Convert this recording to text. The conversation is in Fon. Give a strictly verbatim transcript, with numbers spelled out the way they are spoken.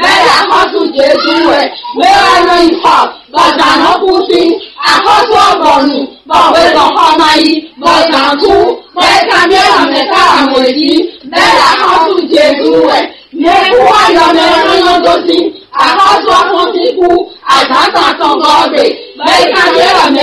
Bɛ́ ɖo axɔ́sú Jezu wɛ, mɛ ɔ́ nɔ nyi xɔ, bɔ zǎn nɔ kú sín. Axɔ́sú ɔ́ bɔnu, bɔ hwezɔn xɔ ma yi, bɔ zǎn kú, bɔ é kanbyɔ́ ɖɔ mɛ̌ ká wá mɔ ɛ jí. Bɛ́ ɖo axɔ́sú Jezu wɛ, mɛ e kú wá yɔ mɛ ɔ́ nɔ nyɔ́ dó sín. Axɔ́sú ɔ́ fɔ́n sín kú, azǎn tɔn atɔngɔ́ ɔ́ gbe, bɔ é kanbyɔ́ ɖɔ mɛ̌